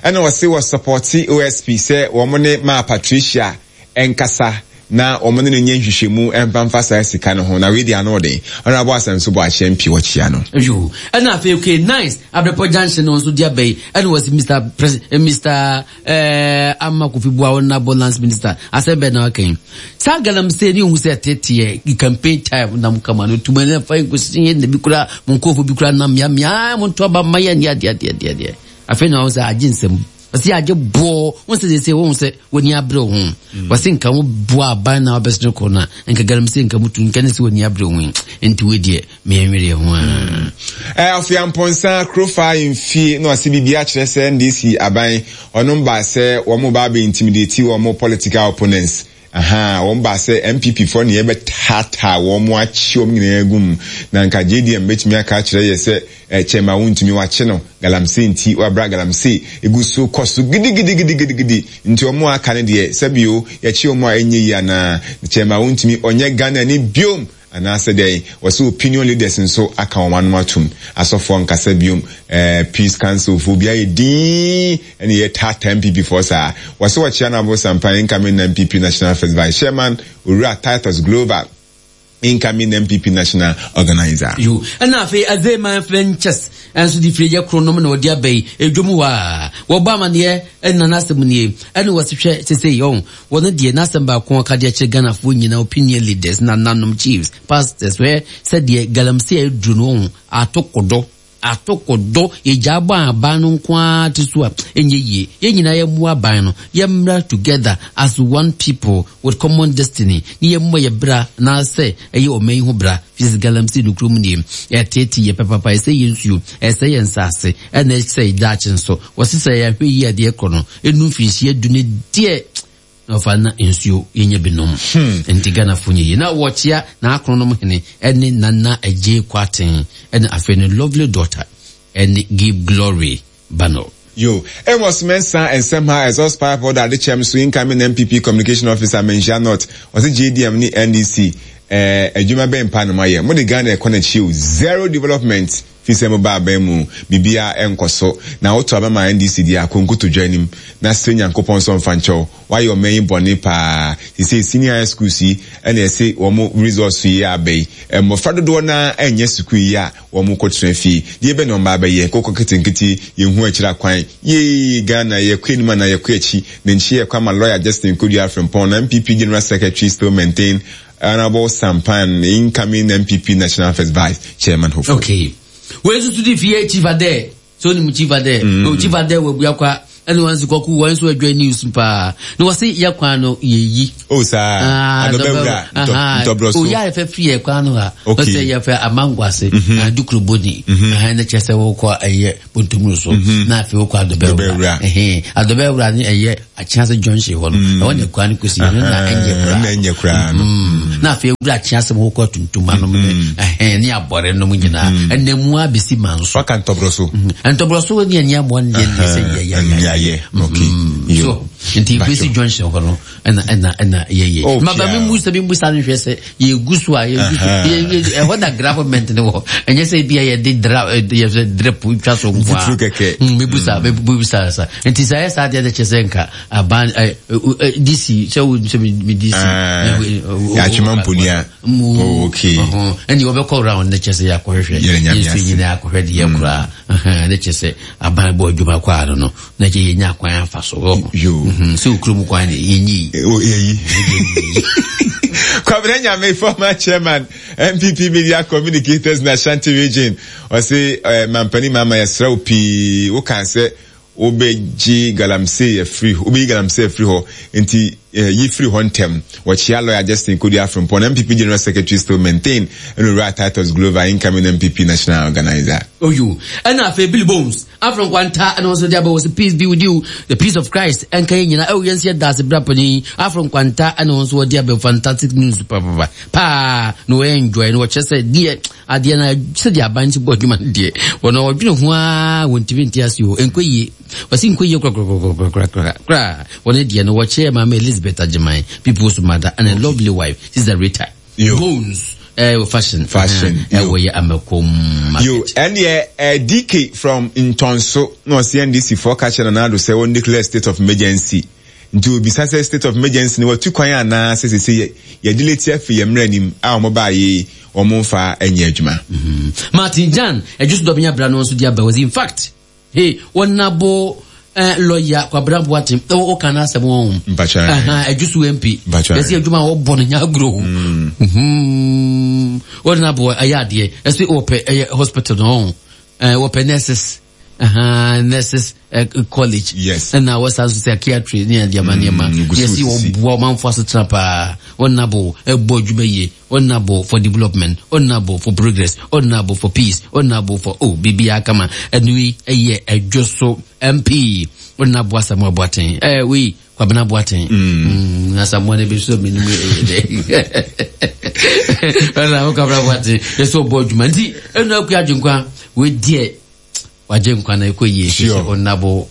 ɛna wɔse wɔ supporti O S P sɛ wɔn ne maa Patricia ɛnkasa na wɔn ne no nyɛ nhwehwɛmu ɛmfa mfa saa sika no ho na wei deɛ ano ɔden Honorable Asɛm so bɔ ahyɛ mpi wɔkyia no. Yo, ɛna afei okay nice Abrepɔ Junction no nso de aba yi ɛna wɔsi Mister Pres eh, Mister eh, Ama Kofi Bua Honorable Lands Minister asɛm bɛn na waka yi saa galamsey ne ohun sɛ teteɛ campaign time nam kama no tuma ne fa nkosi yɛ na bi kura mo nkurɔfo bi kura nam mea mea mo nto aba mma yɛ ne adeɛ adeɛ adeɛ adeɛ afei na wɔn sɛ agye nsɛm wɔsi agye boɔ wɔn sɛ sɛ wɔn sɛ wɔn ani abere ho wɔsi nka wɔn boɔ aban na wɔbɛsene kɔ na nka galamsey nka mutu nka ne sɛ wɔn ani abere ho nti wei deɛ mmea nwere ho a. Ɛ afei Amponsa Krofa mfie na wɔsi biribi akyerɛ sɛ N D C aban ɔno ba sɛ wɔn ba abɛ intimidate wɔn political opponents. Aha, wɔn ba sɛ N P P foɔ ne yɛbɛtaataa wɔn akyi wɔn nyinaa gu mu na nka J D M bɛtumi aka akyerɛ yɛ sɛ kyɛma wontumi wakye no galamsey nti wabra galamsey egu so kɔ so gidigidigidigidi nti wɔn aka ne deɛ sɛbio yɛkye wɔn a ɛnyɛ yie anaa kyɛma wontumi ɔnyɛ Ghana ni biom anaasɛ dɛn wɔsɛ opinion leaders nso aka wɔn anom atum asɔfoɔ nkasa biom eh, peace council fo bi ayɛ din ɛne yɛ taataa N P P foɔ saa wɔsɛ wɔkyea no abo sampan incoming N P P National First Vice Chairman Owura Titus Glover incoming N P P National Organizer. Yo, ɛna afei Azeman Ventures ɛnso de firi yɛ kronom na ɔde aba yi edwom hɔ a wɔbɔ amaneɛ ɛna n'asɛm nie ɛna wɔsi hwɛ sese yɔn wɔn deɛ n'asɛm baako aka deɛ kyerɛ Ghanafoɔ nyinaa opinion leaders na nanom chiefs pastors hwɛ sɛdeɛ galamsey aduru no wɔn atokodo atokodo yɛgya abɔ aban no nko ara te so a ɛnyɛ yie yɛn nyinaa yɛ mmoa aban no yɛmmra together as one people with common destiny ne yɛmmɔ yɛ bra anaasɛ ɛyɛ ɔman yi ho bra fisi galamsey no kurom nie ɛtete yɛ pɛpapa ɛsɛ yɛ nsuo ɛsɛ yɛ nsaase ɛna ɛsɛ daakye nso wɔsi sɛ yɛahwɛ yie adeɛ korɔ no ɛnu mfinhyia du ne deɛ na ɔfa na nsuo yɛnyɛ binom nti Ghanafoɔ nyɛ yie na wɔkyea na akronom hene ɛne Nana Agye Kwaten ɛne afei ne lovely daughter ɛne Give Glory Bano. Yo, Amos Mensah and Semha exhaust pipe order de chem so incoming N P P communication officer Menhyia North ɔse J D M ne N D C eh adwuma bɛn pa no mayɛ mo de Ghana ɛkɔ na chiw zero development fi sɛ mo ba aban mu bibia ɛnkɔ so na woto abama N D C dia konkoto dwa anim na sɛ Nyankopɔn so mfa nkyɛw wayɛ ɔman yi bɔne paa sɛ senior high school si ɛna ɛse wɔn resource yi abɛyi mmɔfra dodoɔ na ɛnyɛ sukuu yi a wɔn kɔtena fie deɛ bɛ na ɔmba abɛyɛ kɔkɔ ketenkete yɛn ho akyire akwan yee Ghana yɛ kɔ anim anaa yɛ kɔ akyi ne nkyi yɛ kɔ ama lawyer Justin Kodua Frimpong na N P P General Secretary still maintain Honorable Sampan incoming N P P National First Vice Chairman hopeful. Okay. Wei nso so di fie Chief Ade so ni mu Chief Ade. Mm. Chief Ade wɔ Abuakwa Ɛne wɔn nso kɔku wɔn nso adwa news paa na wɔsi yɛ kwan no yɛyi. O saa adɔbɛwura ntɔbrɔ so. O yɛ ayɛfɛ firi yɛ kwan no ha. Wɔsɛ yɛfɛ amangwase adukuroboni ɛhɛn ne kyɛ sɛ wɔkɔ ɛyɛ bontomuru so na afei wɔkɔ adɔbɛwura ɛhɛn adɔbɛwura ne ɛyɛ akyease junction hɔ no ɛwɔ ne kwan no kɔsi ɛno na ɛnyɛ koraa. Na ɛnyɛ koraa no. Na afei wura akyease mu wɔkɔ tuntum anom ne ɛhɛn ne abɔre nom nyinaa ɛnna mu abɛsi manso. Waka ntɔbrɔ so. Ntɔbrɔ so ne ɛnyɛ mmoa ne deɛ ne sɛ yɛ yɛ yɛ yɛ. Okay. So nti bɛsi junction hɔ no ɛna ɛna ɛna yɛyɛ. Maba mi mu sɛ mi mu sa no hwɛ sɛ yɛgu so a yɛgu so ɛhɔ na government ne wɔ ɛnyɛ sɛ ebi a yɛde dra yɛsɛ drip twa so nko a. Mi bu sa mi bu sa sa nti sɛ ayɛ saa deɛ de kyɛ sɛ nka aban ɛ D C sɛ wo sɛ mi D C. Yàtúmọ̀ mponia. Okay. Ɛni wɔbɛkɔ round ne kyɛ sɛ yɛakɔhwehwɛ yɛnso nyinaa akɔhwɛ deɛ koraa ne kyɛ sɛ aban bɔ adwuma kɔ ano no na kyɛ yɛnya kwan afa so sɛ okurom kwan ne yɛnyi. Yɛyi. Kwabena Nyame, former chairman N P P Media Communicators na Ashanti Region, ɔse mampani mama yɛsrɛ wo pii wo kan sɛ wobɛgye galamsey afiri wobɛyi galamsey afiri hɔ nti yi firi hɔ ntɛm. Wɔkyea lawyer Justin Kodua Frimpong, N P P General Secretary still maintain, ɛna owura Titus Glover, incoming N P P National Organizer. Oyo ɛna afei Billy Bones Afro Nkwanta ɛna wɔn nso de aba wɔ sɛ peace be with you, the peace of Christ ɛnka yɛn nyinaa. Ɛwɔ yɛn nso yɛ daase bra panyin Afro Nkwanta ɛna wɔn nso wɔde aba fantastic news papapa paa na wɔyɛ enjoy na wɔkyerɛ sɛ deɛ adeɛ na sɛdeɛ aban ti bɔ adwuma no deɛ wɔn wɔdwene ho ara wɔntumi nte ase o nkɔ yie wɔsi nkɔ yie korakorakorakorakora wɔn deɛ no wɔkyerɛ maame Elizabeth Agyeman people's mother and a lovely wife Sister Rita Bones. Eh, fashion. Fashion. Eh, we amekom. Yo, and yeah, uh, D K from Ntonso, no C N D C for catch and another say one declare state of emergency. Nti obi say state of emergency ni watu kwan ana say say say ye delete afi ye mranim a omo ba ye omo mfa enye adwuma. Martin Jan, e just do nya bra no so dia ba was in fact. Hey, wonabo Uh, lawyer Kwabena Boateng o o kana asem won aha ejusu M P besi adwuma wo bo no nya agro mhm wo na bo ayade ese wo pe hospital no eh wo pe nurses aha nurses college yes and na wo san psychiatry ne ade ma ne ma yesi wo bo manfo asetra pa wo na bo e bo adwuma ye wo na bo for development, wo na bo for progress, wo na bo for peace, wo na bo for oh bibia kama anui eye ejusu M P wo na bo Asamoah Boateng eh we Kwabena Boateng mm na Asamoah ne bi so me nimu eh de na Kwabena Boateng yeso bo adwuma nti enu akua adwenkwa we de waje nkwa na ekoye so na bo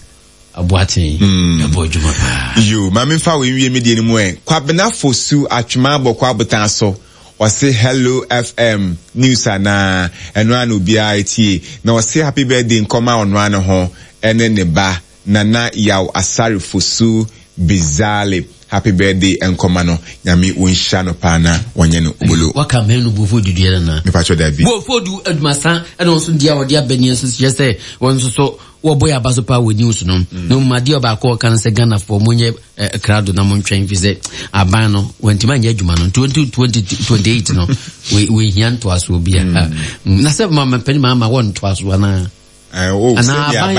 Boateng e bo adwuma pa yo ma me fa we nwie me de ni mu eh Kwabena Fosu atwema bokwa abotan so ɔse Hello F M news ana eno ana obi etie na ɔse happy birthday nkoma ono ana ho ene ne ba Nana Yaw Asare Fosu Bizale happy birthday nkoma no nyame wonhya no pa na wonye no obolo waka menu bofo dudu na me pacho da bi bofo du adumasa ene nso dia odi abani nso se won nso so wo boy abaso pa we news no no ma dia ba ko kan se Ghana for monye crowd na mon twen fi se aban no wentima nya adwuma no twenty twenty-eight no we we hian to aso bia na se ma mepani ma ma won to aso ana eh o se aban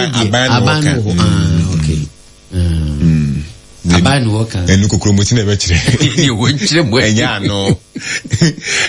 aban no ah okay mm aban no kan enu kokromoti na be kire ni wo nkire mo enya no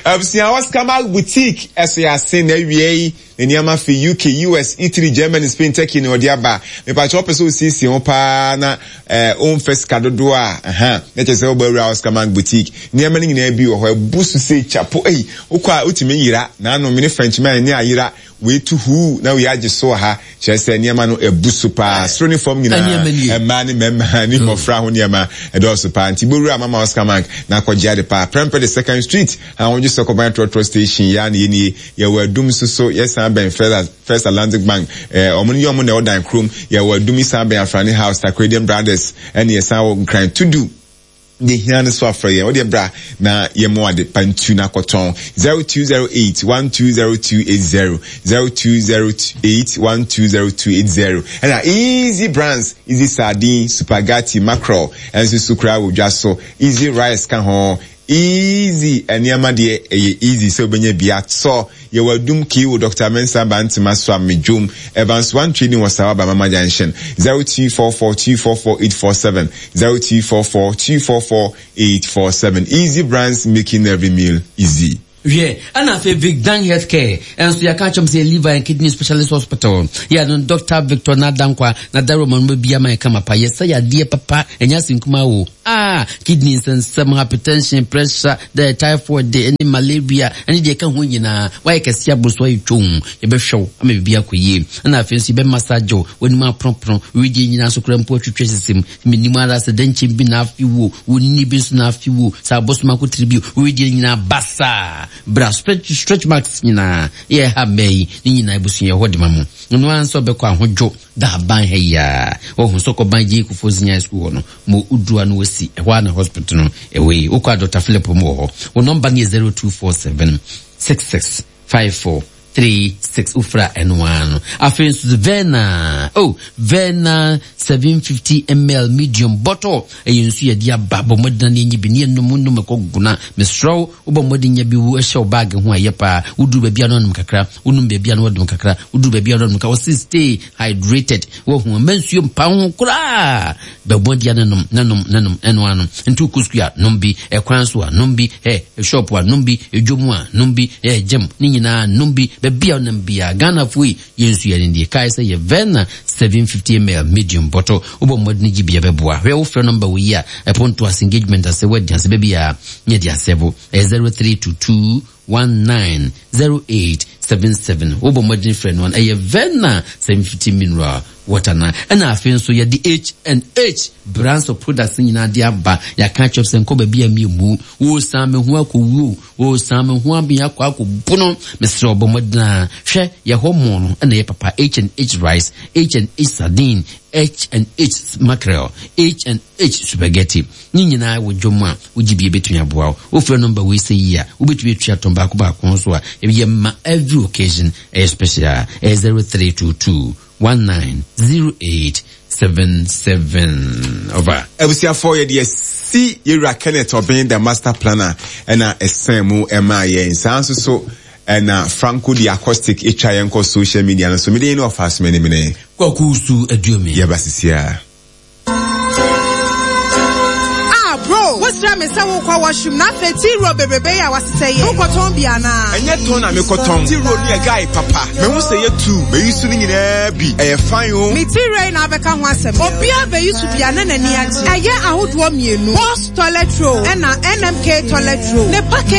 absia Oscar Boutique eso ya sin na wie ne niama fi U K, U S, Italy, Germany, Spain, Turkey ne odi aba me pa cho pese osisi ho pa na eh onfes kadodo a aha na che se obawura Oscar Mark Boutique niama ni nyina bi wo ho ebusu se chapo eh okwa otimi yira na ano me ne Frenchman ne ayira we to who na we age so ha che se niama no ebusu pa soro ni form nyina e ma ni mema ni mofra ho niama e do so pa nti bowura mama Oscar Mark na akɔgye ade pa Prempeh the second street ha wonje Sokoban trotro station ya na ye ye wadum so so yes ben First Atlantic Bank eh omo ni omo na odan krom ye wadum isan ben Afrani House Takredium Brothers ene ye san wo nkran to do de hia ne so afra ye o de bra na ye mo ade pantu na koton zero two zero eight one two zero two eight zero zero two zero eight one two zero two eight zero and easy brands easy sardine spaghetti mackerel and so sukra wo dwa so easy rice ka ho Easy nneɛma deɛ ɛyɛ easy sɛ wobɛnya bi atɔ. Yɛwɔ Adum Kiwo, Doctor Mensah Bantema so Amedwom, Evans One Trading wɔ Sawa Bamama Junction. zero two four four two four four eight four seven zero two four four two four four eight four seven. Easy Brands, making every meal easy. Hwɛ, ɛna afei Vicdan Healthcare ɛnso yɛaka akyerɛ m sɛ liver and kidney specialist hospital yɛ no Doctor Victor Nadankwa na daroma no bia ma ɛka mapa yɛsɛ yadeɛ papa ɛnyɛ asenkuma o. Ah, kidney nsɛnsɛm, hypertension, pressure, the typhoid de ɛne malaria ɛne deɛ ɛka ho nyinaa. Wayɛ kɛse aboro so ayɛ twom, yɛbɛhwɛ wo ama biribi akɔ yie. Ɛna afei nso yɛbɛmassage wo w'anim aponopono wedeɛ nyinaa so kora mpo atwitwa sisim menim ara sɛ dɛnkyɛm bi na afe wo wonni bi nso na afe wo sɛ abɔsom akotiri bi wedeɛ nyinaa basaa bra stretch, stretch marks nyinaa yɛ ha mmaa yi ne nyinaa abusua yɛ hɔ de ma mo. Ɔno ara nso ɔbɛkɔ ahodwo da aban ha yi a wɔhu sɛ kɔban gye Kufuor Senior School hɔ no mo udua no wɔsi ɛhɔ a na hospital no ɛwɔ yi. Wokɔ a Doctor Philip mu wɔ hɔ. Wo nɔmba no yɛ zero two four seven six six five four three six. Wofra ɛno ara no. Afei nso Verna, oh, Verna seven fifty ml medium bottle ɛyɛ nsu yɛde aba. Bɔ mmɔden na enyi bi ne yɛnom nom ɛkɔ guna. Mesrɛ wo, wobɔ mmɔden nya bi wo ɛhyɛ wo baage ho a ɛyɛ paa. Woduru baabi a na ɔnom kakra, wonom baabi a na wɔdom kakra, woduru baabi a na ɔnom kakra. Wɔsi stay hydrated. Wɔhu mma nsuo mpa ho koraa. Bɛbɔ deɛ no nom na nom na nom ɛno ano. Nti wokɔ sukuu a nom bi, ɛkwan so a nom bi, ɛ shop a nom bi, edwom a nom bi, ɛ gyem ne nyinaa nom bi. Baabi a ɔnam bi a Ghanafoɔ yi yɛn nsu yɛn deɛ kae sɛ yɛ Verna seven fifty ml medium bottle. Wobɔ mmɔden gye bi a bɛboa. Hwɛ wofrɛ nɔmba wɔ yi a ɛponto ase engagement ase wɔadi ase baabi a nyɛ de asɛbo ɛyɛ zero three two two one nine zero eight seven seven. Wobɔ mmɔden frɛ no ɛyɛ Verna seven fifty mineral water na ɛna afei nso yɛde H and H brands of products nyinaa de aba. Yɛaka kyerɛ sɛ nkɔ baabi a miemu wosan me ho akɔwuo wosan me ho abea akɔ akɔbu no. Mesrɛ ɔbɔ mmɔden a hwɛ yɛ hɔ mo no ɛna yɛ papa H and H rice, H and H sardine, H and H mackerel, H and H spaghetti ne nyinaa wɔ dwom a wogye bi ebetumi aboa wo. Wofrɛ nɔmba wei sɛ yi a wobɛtumi atua tɔn baako baako nso a ɛyɛ ma every occasion ɛyɛ special. Ɛyɛ zero three two two one nine zero eight seven seven. Over. Abusuafoɔ, yɛde asi yɛwura Kenneth Ɔbɛn the master planner ɛna ɛsɛn mu ɛma yɛn saa nso so ɛna Franco the acoustic etwa yɛn kɔ social media no so. Mede yɛn ne ɔfa so mene mene Kwaku Su Aduomi. Yɛba sisi a. Ah, bro, wosra me sɛ wokɔ washroom na afei tii roll bebrebe yi a wasesɛ yɛ. Wokɔtɔn bi anaa? Ɛnyɛ tɔn na mekɔtɔn. Tii roll no yɛ guy papa. Mehu sɛ yɛ tu. Meyi so no nyinaa bi. Ɛyɛ fine o. Me tii roll yi na abɛka ho asɛm. Obiara bɛyi so bi a na n'ani agye. Ɛyɛ ahodoɔ mmienu. Boss toilet roll ɛna N M K toilet roll. Ne package